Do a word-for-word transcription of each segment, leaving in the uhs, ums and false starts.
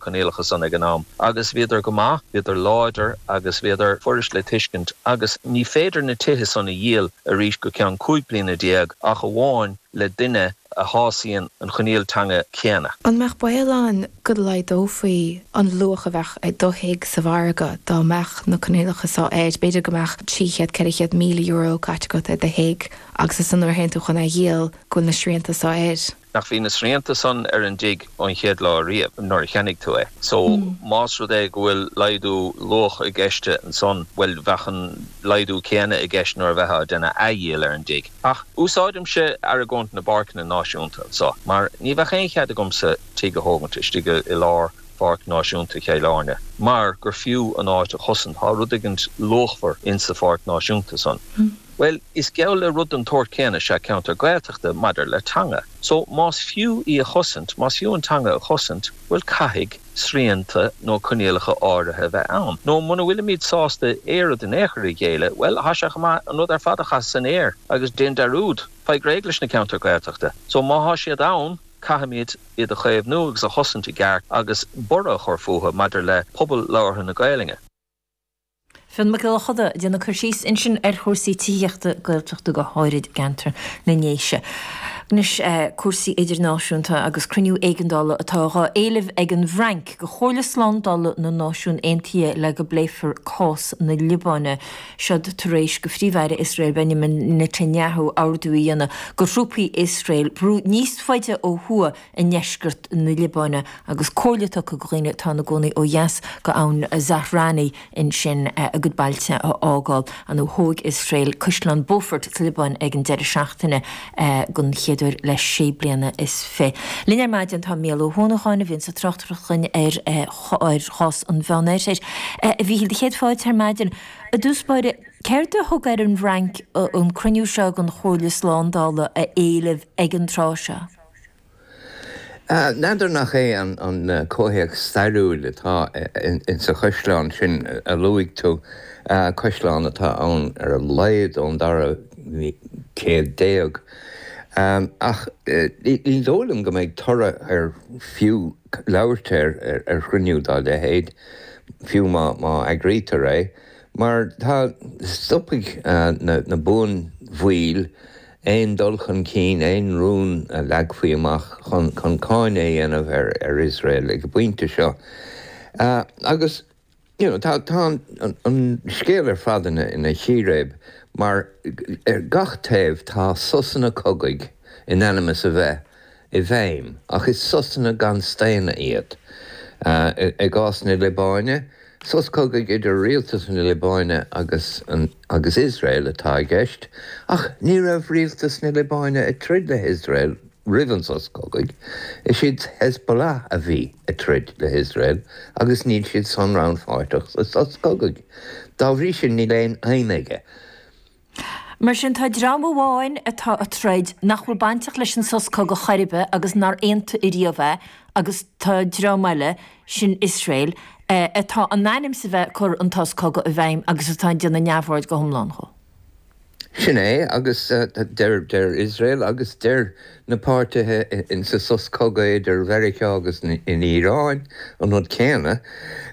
Coinníollacha san ag an am. Agus bhíodar go maith, bhíodar láidir agus bhíodar furast le tuiscint agus ní féidir na tithe san a dhíol arís go ceann cúig bliana déag ach amháin le duine a shásaíonn an choinníoll teanga céanna. An mbeadh baol ann go laghdófaí an luach a bheadh ag do thigh sa mhargadh dá mbeadh na coinníollacha seo air, b'fhéidir go mbeadh trí chéad, ceithre chéad míle euro caite agat ar do thigh agus ansan nuair a théann tú chun é a dhíol go bhfuil na srianta seo air. Nach bhí na srianta san ar an dtigh ón chéad lá riamh nuair a cheannaigh tú é. So más rud é go bhfuil laghdú luach i gceist ansan, bhuel bheadh an laghdú céanna i gceist nuair a bheifeá ag déanamh athdhíol ar an dtigh. Ach úsáidimse argóint na bpáirceanna náisiúnta anso, mar ní bheadh aon chead agamsa tigh a thógaint istigh i lár Pháirc Náisiúnta Chill Airne, mar gur fiú an áit a chosaint, tá rud éigint luachmhar insa Pháirc Náisiúnta san. Bhuel, is geall le rud den tsórt céanna is ea ceantar Gaeltachta maidir le teanga. So, más fiú í a chosaint, más fiú an teanga a chosaint, bhuel, caithfidh srianta nó coinníollacha áirithe a bheith ann. Nó muna bhfuilimid sásta éiread in aon chor a ghéilleadh, bhuel, tá sé chomh maith an rud ar fad a chaitheamh san aer agus déan dearúd, faigh réidh leis na ceantair Ghaeltachta. So, má thá siad ann, caithfimid iad a chaomhnú agus a chosaint i gceart agus borradh a chur fúthu maidir le pobal labhartha na Gaelainne. Fionn Mac Giolla Chuda ag déanamh cur síos ansin ar chúrsaí tithíochta Gaeltachta go háirid i gceantar na nDéise. Anois cúrsaí idirnáisiúnta agus cruinniú éigeandála atá dhá éileamh ag an bhFrainc go Chomhairle Slándála na Náisiún Aontaithe le go bpléifear cás na Liobáine. Seod tar éis go Phríomh-Aire Iosrael Benjamin Netanyahu ordú a dhéanamh go thrúpaí Iosrael brú níos faide ó thuaidh i ndeisceart na Liobáine agus comhairle tugtha go dhaoine atá ina gcónaí ó dheas go abhainn Zahrani ansin a gcuid bailte a fhágáil. Nó thóg Iosrael Caisleán Beaufort sa Liobáin ag an deireadh seachtaine den chéad uair le sé bliana is fiche. Linn ar maidin tá Mícheál Ó hUanacháin a bhíonns ag tráchtaireacht dhúinn ar chás an Mheánoirthir. A Mhíchíl, do chéad fáilte ar maidin. I dtús báire, céard a thug ar an bhFrainc an cruinniú seo den Chomhairle Slándála a éileamh ag an tráth seo? N'fheadar nach é an comhthéacs stairiúil atá insa chaisleán sin a luaigh tú, caisleán atá ann ar a laghad ón dara céad déag. Ach ní dóigh liom go mbeidh toradh ar fiú labhairt air ar chruinniú dá leithéid, fiú má eagraítear é, mar tá, stopfaidh na buanbhaill aon dul chun cinn, aon rún a leagfaí amach chun cáineadh a dhéanamh ar Iosrael ag an bpointe seo. Agus you know tá an scéal ar fad ina chíréib mar ar gach taobh tá sosanna cogaidh in ainm is a bheith i bhfeidhm, ach is sosanna gan staonadh iad. I gcás na Liobáine, sos cogaidh idir rialtas na Liobáine agus agus Iosrael atá i gceist, ach ní raibh rialtas na Liobáine ag troid le hIosrael roimh an sos cogaidh. Is iad Hezbollah a bhí ag troid le hIosrael agus níl siad san rannpháirteach sa sos cogaidh. Dá bhrí sin níl aon fheidhm aige. Mar sin, tá dream amháin atá ag troid nach bhfuil bainteach leis an sos cogaidh chor ar bith agus nár aontaigh ariamh é agus tá dream eile, sin Iosrael, atá in ainm is a bheith ag cur an sos cogaidh i bhfeidhm agus atá ag déanamh neamhaird go hiomlán dhó. Sin é, agus deir Iosrael agus deir na páirtithe insa sos cogaidh idir Mheiriceá agus an Iaráin an rud céanna,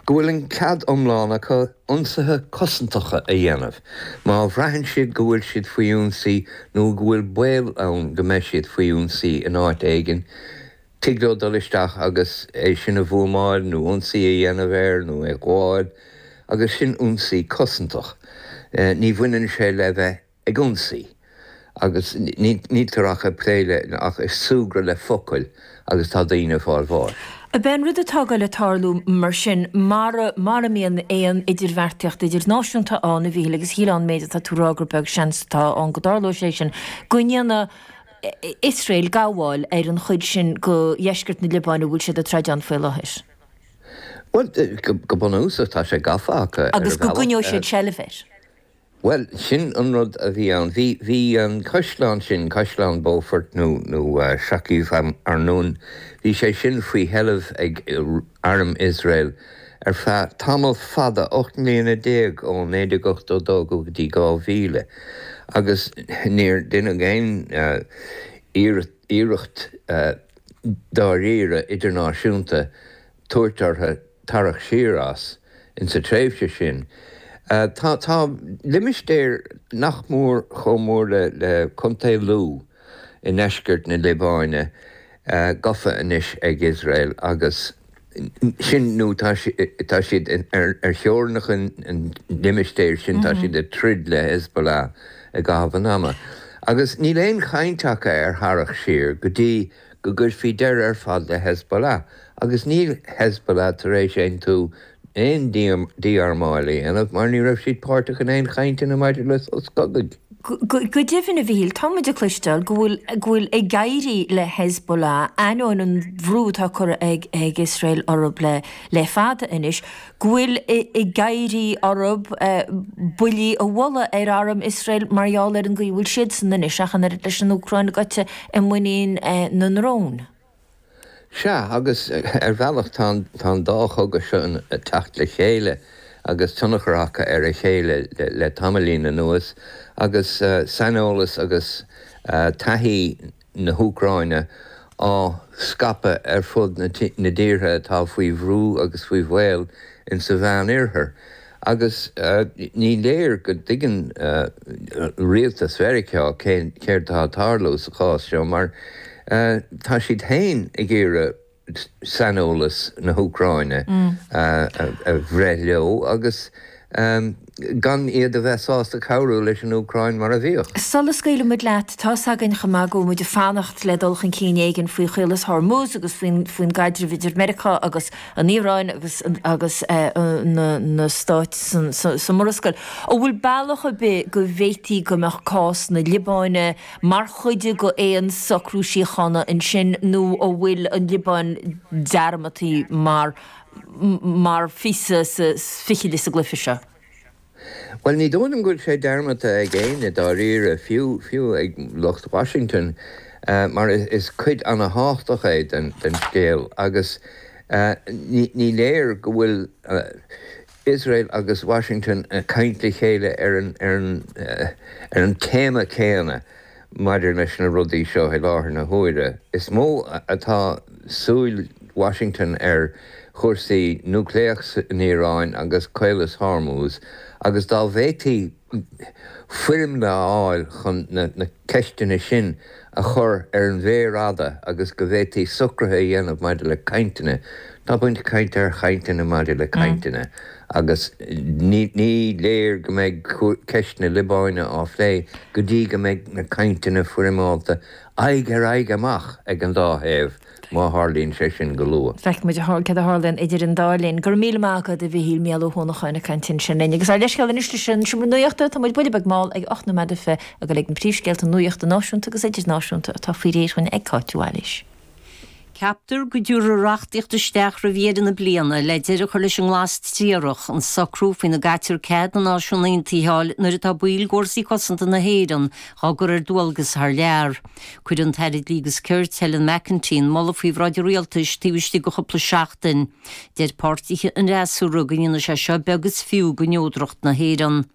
go bhfuil an cead iomlán acu ionsaithe cosantacha a dhéanamh má bhraitheann siad go bhfuil siad faoi ionsaí nó go bhfuil baol ann go mbeidh siad faoi ionsaí in áit éigin. Tig leo dul isteach agus é sin a bhuamáil nó ionsaí a dhéanamh air nó é a ghabháil agus sin ionsaí cosantach. Ní bhaineann sé le bheith ag ionsaí agus níltear ach ag plé le, ach ag súgradh le focail agus tá daoine ag fáil bháis. Ab é an rud atá ag goil ag tarlú mar sin, mara, mara mbíonn aon idirbheartaíocht idirnáisiúnta ann, a Mhíchíl, agus shílfeá ón méid atá tú a rá gur beag seans atá ann go dtarlóidh sé sin, go ndéanfaidh Iosrael gabháil ar an chuid sin de dheisceart na Liobáine a bhfuil siad ag troid ann faoi láthair. Bhuel, go bunúsach tá sé gafa acu ar Agus go bhealach. gcoinneoidh siad seilbh air. Bhuel, sin an rud a bhí ann. Bhí, bhí an caisleán sin, Caisleán Beaufort nó, nó Shaqif Arnoun, bhí sé sin faoi sheilbh ag arm Iosrael ar feadh tamall fada, ocht mbliana déag, ó naoi déag ochtó dó go dtí dhá mhíle, agus níor deineadh aon iarracht dáiríre idirnáisiúnta tabhairt orthu tarraingt siar as insa tréimhse sin. Tá tá limistéar nach mór chomh mór le le Contae Lú i ndeisceart na Liobáine gafa anois ag Iosrael agus sin nó tá tá siad ar ar theorainneacha an limistéir sin tá siad ag troid le Hezbollah i gcaitheamh an ama. Agus níl aon chaint acu ar tharraingt siar go dtí go gcuirfí deireadh ar fad le Hezbollah. Agus níl Hezbollah tar éis aontú aon dí-armáil a dhéanamh mar ní raibh siad páirteach in aon chainteanna maidir le sos cogaidh. Go deimhin, a Mhichíl, tá muid ag cloisteáil go bhfuil go bhfuil ag éirí le Hezbollah, ainneoin an bhrú atá curtha ag ag Iosrael orthu le le fada anois, go bhfuil ag éirí orthu buillí a bhualadh ar arm Iosrael mar gheall ar an gcaoi a bhfuil siadsan anois, ach an oiread leis an Úcráin gaibhte i muinín na ndrón. Sea, agus ar bhealach tá an dá chogadh seo ag teacht le chéile agus tionchar acu ar a chéile le tamaillín anuas agus saineolas agus taithí na hÚcráine á scaipeadh ar fud na dtíortha atá faoi bhrú agus faoi bhaol insa Mheánoirthear. Agus ní léir go dtuigeann rialtas Mheiriceá céard atá ag tarlú sa chás seo mar tá siad féin ag iarraidh saineolas na hÚcráine a bhreith leo agus gan iad a bheith sásta cabhrú leis an Úcráin mar a bhíodh. Sula scaoilfidh muid leat, tá's againn chomh maith go bhfuil muid ag fanacht le dul chun cinn éigin faoi Chaolas Hormuz agus faoin faoin gcaidreamh idir Meiriceá agus an Iaráin agus agus na na stáit san sa Mhurascaill. An bhfuil bealach ar bith go bhféadfaí go mbeadh cás na Liobáine mar chuid de aon socrú síochána ansin nó an bhfuil an Liobáin dearmadta mar mar phíosa sa fichille sa gcluiche seo? Bhuel, ní dóigh liom go bhfuil sé dearmadta ag éinne dáiríre, fiú fiú ag lucht Washington, mar is cuid ana-thábhachtach é den den scéal agus ní ní léir go bhfuil Iosrael agus Washington ag caint le chéile ar an ar an ar an téama céanna maidir leis na rudaí seo i láthair na huaire. Is mó atá súil Washington ar chúrsaí núicléach san Iaráin agus Caolas Hormuz agus dá bhféadfaí foirmle a fháil chun na ceisteanna sin a chur ar an mhéar fhada agus go bhféadfaí socruithe a dhéanamh maidir le cainteanna. Tá muid ag caint ar chainteanna maidir le cainteanna agus ní léir go mbeidh ceist na Liobáine á phlé go dtí go mbeidh na cainteanna foirmeálta aghaidh ar aghaidh amach ag an dá thaobh, má tharlaíonn sé sin go luath. Feicfidh muid céard a tharlaíonn idir an dá linn. Go raibh míle maith agat, a Mhichíl, Mícheál Ó hUanacháin ag caint ansin linn. Agus ár leithscéal anois leis an Seomra Nuachta, tá muid buille beag mall ag ocht nóiméad is fiche ag dul ag na príomhscéalta nuachta náisiúnta agus idirnáisiúnta atá faoi réir dhúinn ag Cáit Mhaoilís. Ceaptar go dtabharfar reachtaíocht isteach roimh dheireadh na bliana le deireadh a chur leis an nglas triarach, an socrú faoina gcaitear cead na Náisiún Aontaithe a fháil nuair atá baill d'Fhórsaí Cosanta na hÉireann á gcur ar dualgas thar lear. Cuirfidh an tAire Dlí agus Cirt, Helen McEntee, an moladh faoi bhráid an Rialtais taobh istigh de chúpla seachtain. Deir páirtithe an fhreasúra go ndéanfaidh sé seo beag is fiú de neodracht na hÉireann.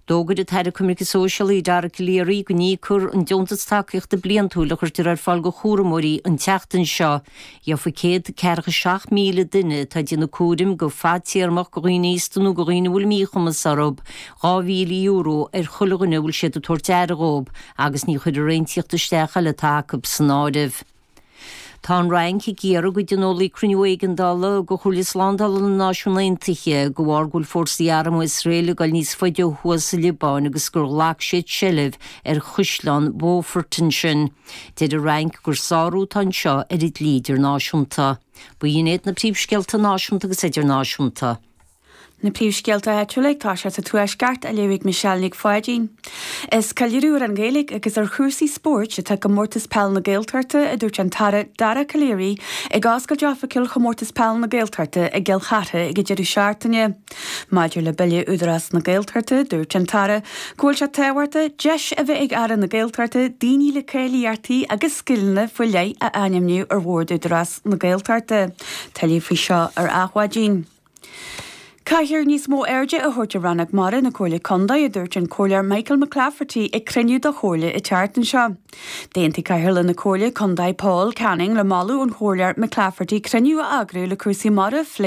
D'fhógair an tAire Coimirce Sóisialaí Dara Calleary go n-íocfar an deontas tacaíochta bliantúil a chuirtear ar fáil do chúramóirí an tseachtain seo. Gheofaidh céad ceathracha seacht míle duine atá ag déanamh cúraim go fadtéarmach do dhaoine aosta nó do dhaoine a bhfuil míchumas orthu dhá mhíle euro ar chuile dhuine a bhfuil siad ag tabhairt aire dhóibh agus ní chuirfear aon tíocht isteach eile atá acu san áireamh. Tá an Fhrainc ag iarraidh go dtionólfaí cruinniú éigeandála de Chomhairle Slándála na Náisiún Aontaithe de bharr go bhfuil fórsaí armtha Iosrael ag dul níos faide ó thuaidh sa Liobáin agus gur ghlac siad seilbh ar Chaisleán Beaufort ansin. Deir an Fhrainc gur sárú atá anseo ar an dlí idirnáisiúnta. B'in iad na príomhscéalta náisiúnta agus idirnáisiúnta. Na príomhscéalta áitiúla ag toiseacht sa Tuaisceart á léamh ag Michelle Nic Pháidín. Is ceiliúradh ar an Ghaeilge agus ar chúrsaí spóirt atá i gComórtas Peile na Gaeltachta, a dúirt an tAire Dara Calleary ag oscailt oifigiúil Chomórtas Peile na Gaeltachta i gCill Chartha ag an deireadh seachtaine. Maidir le Bille Údarás na Gaeltachta, dúirt an tAire go bhfuil sé tábhachtach deis a bheith ag Aire na Gaeltachta daoine le cáilíochtaí agus scileanna faoi leith a ainmniú ar Bhord Údarás na Gaeltachta. Tuilleadh faoi seo ar Adhmhaidin. Caithfear níos mó airde a thabhairt ar Rannóg Mara na Comhairle Contae a dúirt an Comhairleoir Michael McClafferty ag cruinniú de Chomhairle an tseachtain seo. D'aontaigh Cathaoirleach na Comhairle Contae Paul Canning le moladh an Chomhairleoir McClafferty cruinniú a eagrú le cúrsaí mara a phlé